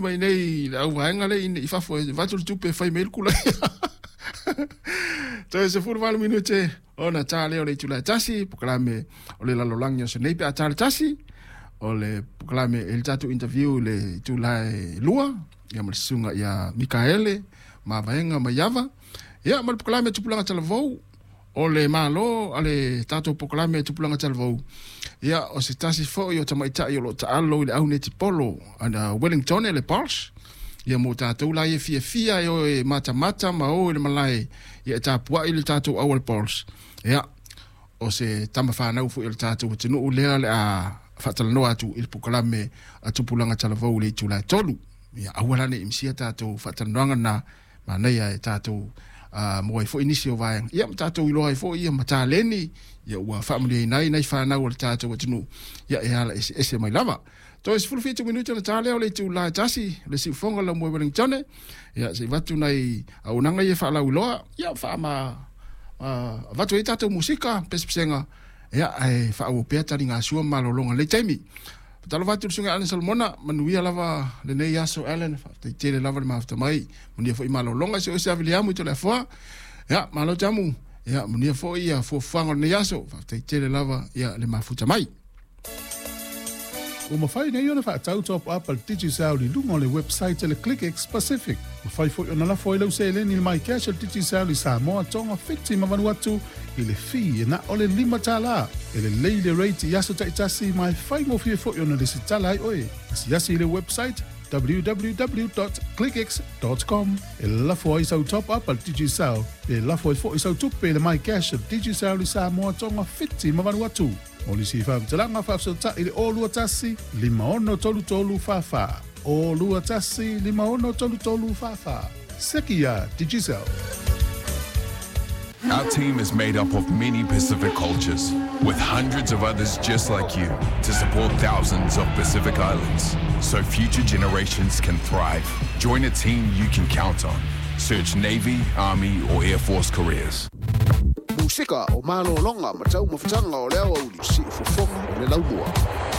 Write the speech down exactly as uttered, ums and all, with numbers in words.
Mai nei le auvaega le i fafo e vatu le tupe e fai mai le kula. Toe sefulu valu minute ona ta lea o le itula e tasi, polokalame o le lalolagi o aso nei pe a ta le tasi. O le polokalame e le tatou interview i le itula e lua ia ma le susuga ia Mikaele Mavaega Maiava. Ia ma le polokalame Tupulaga Talavou o le Malo a le tatou polokalame Tupulaga Talavou. Ia o se tasi foi o tamaitai o loo taalo i le au netipolo ana Wellington le Pulse. Ia mo tatou la ia fiafia e o e matamata ma o i le malae ia e tapuai le tatou au le Pulse. Ia o se tama whanau foi o le tatou atunuu lea le a faatalanoa atu i le polokalame a Tupulaga Talavou i le itula e tolu. Ia aua la ne i misia tatou faatalanoaga na manaia e tatou uh, mo ai foi nisi o vaega. Ia ma tatou iloa ai foi ia ma taleni ia ua faamanuiaina ai nai fanau o le tatou atunuu ia e ala eseese mai lava. Toe sefulu fitu minute ona ta lea o le itula e tasi le siufoga lau moe Wellington. Ia se i vatu nai auaunaga ia faalauiloa ia faama uh, avatu ai tatou musika pesepesega ia ae faaauau pea taligasua ma malologa lei taimi. Faatalofa atu i le susuga Alan Solomona, manuia lava lenei aso Alan, faafetai tele lava le mafuta mai, manuia foi malologa se o se aviliamu i Toleafoa. Ia, malo tamu, ia manuia foi ia fuafuaga o lenei aso, faafetai tele lava ia le mafuta mai. Ua mafai nei ona faatau top up a le Digicel i luga o le website a le ClickX Pacific. Mafai foi ona lafo ai lau seleni i le MyCash a le Digicel i Samoa, Tonga, Fiti ma Vanuatu i le fee e na o le lima tala. E lelei le rate i aso taitasi ma e faigofie foi ona lesitala ai oe. Asiasi i le website w w w clickx com e lafo ai sau top up a le Digicel pe lafo ai foi sau tupe i le MyCash a le Digicel i Samoa, Tonga, Fiti ma Vanuatu. Mo nisi faamatalaga faafesootai i le zero two one lima six three three four four zero two one lima six three three four four. Seki ia Digicel. Our team is made up of many Pacific cultures, with hundreds of others just like you to support thousands of Pacific Islands so future generations can thrive. Join a team you can count on. Search Navy, Army, or Air Force careers. Musika o malologa ma taumafataga o le aoauli, siufofoga o le laumua.